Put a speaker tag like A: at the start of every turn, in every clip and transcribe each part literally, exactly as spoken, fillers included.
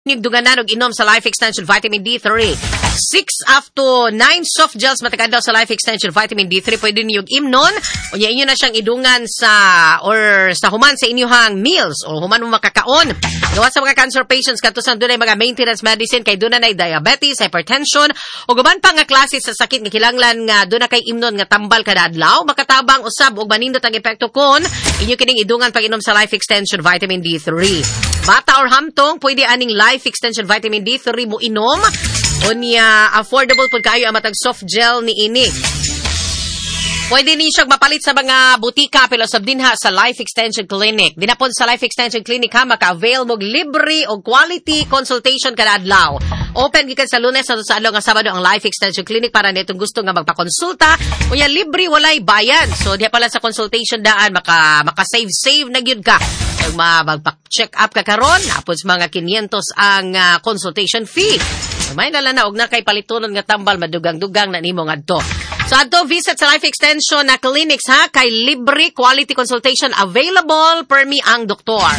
A: Dunganan og inom sa Life Extension Vitamin D three. six up to nine soft gels matag adlaw sa Life Extension Vitamin D three pwede niyo imnon. Unya inyo na siyang idungan sa or sa human sa inyong meals o human mo makakaon. Gawas sa mga cancer patients kadto sa dunay mga maintenance medicine kay duna nay diabetes, hypertension o uban pa nga klase sa sakit nga kinahanglan nga duna kay imnon nga tambal kada adlaw, makatabang usab og manindot ang epekto kon inyo kining idungan pag-inom sa Life Extension Vitamin D three. Bata or hamtong, pwede aning Life Extension Vitamin D three mo inom. Unya, affordable pud kayo ang matag soft gel ni ini. Pwede ni siya mapalit sa mga butika pero sab dinha sa Life Extension Clinic. Dinha pod sa Life Extension Clinic ha, maka-avail mo libre og quality consultation kada adlaw. Open gikan sa Lunes hangtod sa adlaw nga Sabado ang Life Extension Clinic para nitong gusto nga magpakonsulta. Unya libre, walay bayad. So diha pala sa consultation daan maka maka-save save na gyud ka. Kung ma magpa-check up ka karon, apod sa mga kinyentos ang ah, consultation fee. May nala na og na kay palitunon nga tambal, madugang-dugang na nimo ngadto. So adto visit sa Life Extension na clinics ha, kay libre quality consultation available permi ang doktor.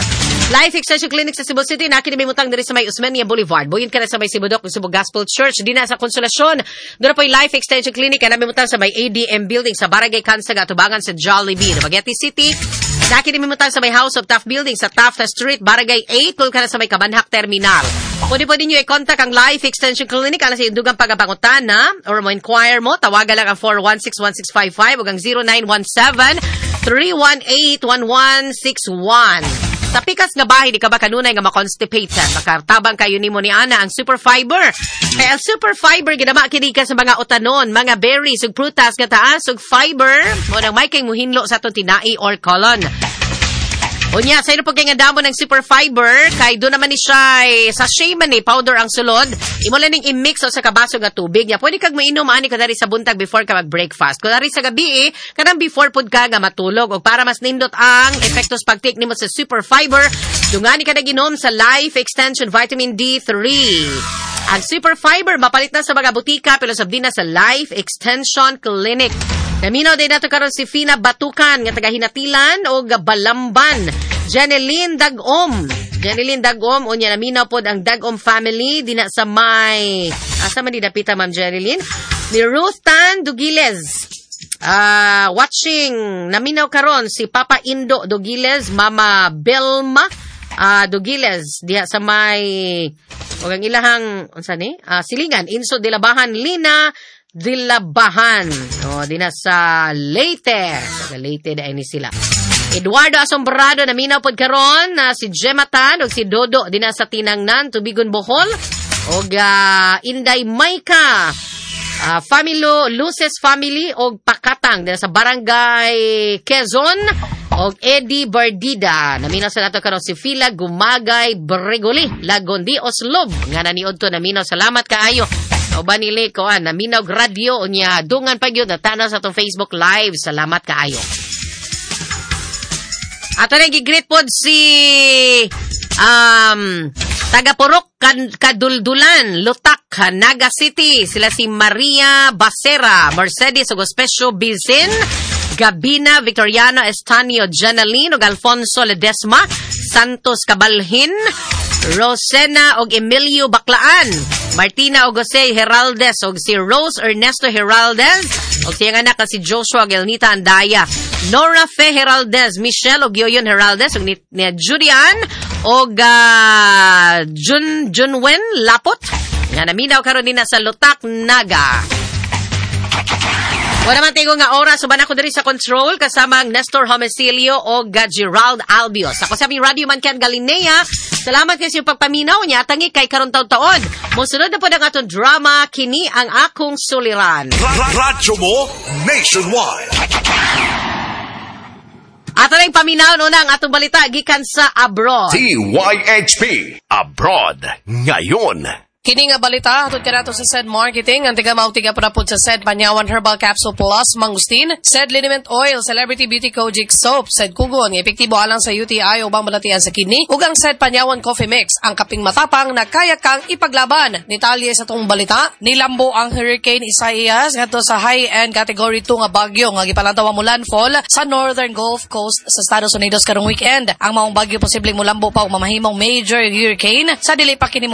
A: Life Extension Clinic sa Cebu City na kini mutang diri sa may Osmeña Boulevard. Buyon ka na sa may Cebu Doc, Cebu Gospel Church dinha sa Consolacion. Doon po yung Life Extension Clinic na mimutang sa may A D M Building sa Barangay Kansa, atubangan sa Jollibee. Dumaguete City, na kini mimutang sa may House of Taft Building sa Taft Street, Barangay eight, ka na sa may Kabanhak Terminal. Pwede pwede nyo i-contact ang Life Extension Clinic alang sa dugang pagpangutana or mo inquire mo, tawagan lang ang four one six, one six five five o ang zero nine one seven, three one eight, one one six one. Sa pikas nga bahin, di ka ba kanunay nga makonstipated? Makatabang kayo nimo ni ana ang Super Fiber. Kaya ang Super Fiber gidama kini ka sa mga utanon, mga berries ug prutas nga taas ug fiber, mo nang may kay muhinlo sa atong tinai or colon. Unya, sa inyo pag nga damo ng Super Fiber, kay doon naman ni siya, eh, sachet man ni, powder ang sulod. Imo lang ning i-mix sa kabaso nga tubig niya. Pwede kag mainom ani kadari sa buntag before ka mag-breakfast. Kunwari sa gabi, eh, kanang before pud ka nga matulog. Og para mas nindot ang epektos pag-take nimo sa Super Fiber, dungani ka naginom sa Life Extension Vitamin D three. Ang Super Fiber mapalit na sa mga butika pero sab din na sa Life Extension Clinic. Naminaw din nato karon si Fina Batukan nga taga Hinatilan o Balamban. Jeneline Dagom. Jeneline Dagom, unya naminaw pod ang Dagom family dina sa may asa man di dapita, Ma'am Jeneline? Ni Ruth Tan Dugiles. Ah, watching naminaw karon si Papa Indo Dugiles, Mama Belma ah Dugiles diha sa may ug ang ilahang unsa ni? Ah, silingan Inso Dilabahan, Lina Dilabahan. O, dina sa Leyte. Sa Leyte na ni sila. Eduardo Asombrado naminaw pod karon na si Gemma Tan ug si Dodo dina sa Tinangnan, Tubigon, Bohol. Og ah, Inday Maika, uh, Familo Luces Family og Pakatang dina sa Barangay Quezon og Eddie Bardida. Naminaw sa nato karon si Fila Gumagay Bregoli Lagondi Oslob nga naniod to naminaw. Salamat kaayo. Uban nili ko ah, naminaw radyo unya dungan pa gyud natanaw sa atong Facebook Live. Salamat kaayo. Ato na gi-greet pod si um taga Purok Kan- Kaduldulan, Lutak, Naga City. Sila si Maria Bacera, Mercedes ug Ospecio Bizin, Gabina Victoriano Estanio, Janeline ug Alfonso Ledesma, Santos Cabalhin, Rosena og Emilio Baklaan, Martina og Jose Heraldez og si Rose Ernesto Heraldez og siyang anak nga si Joshua og Elnita Andaya, Nora Fe Heraldez, Michelle og Yoyon Heraldez og ni, ni Julian og uh, Jun Junwen Lapot nga naminaw karon nina sa Lutak, Naga. Wala man tingo nga oras, uban ako diri sa control kasama ang Nestor Homicilio o Gerald Albios. Ako sa aming radio man Ken Galinea. Salamat kay sa iyong pagpaminaw niya tangi kay karon taon-taon. Mosunod na po ang atong drama, Kini ang Akong Suliran.
B: Radyo mo nationwide.
A: Ato na yung paminaw una ang atong balita gikan sa abroad.
B: D Y H P Abroad ngayon.
C: Kini nga balita hatod kanato sa SED Marketing ang tiga mao tiga parapod sa SED Panyawan Herbal Capsule Plus Mangustin, SED Liniment Oil, Celebrity Beauty Kojic Soap, SED Kugon nga epektibo alang sa U T I ubang balatian sa kidney, ug ang SED Panyawan Coffee Mix, ang kaping matapang na kaya kang ipaglaban. Detalye sa tong balita, nilambo ang Hurricane Isaias ngadto sa high-end category two nga bagyo nga gipalantaw mo landfall sa Northern Gulf Coast sa Estados Unidos karong weekend. Ang maong bagyo posibleng mulambo pa og mamahimong major hurricane sa dili pa kini.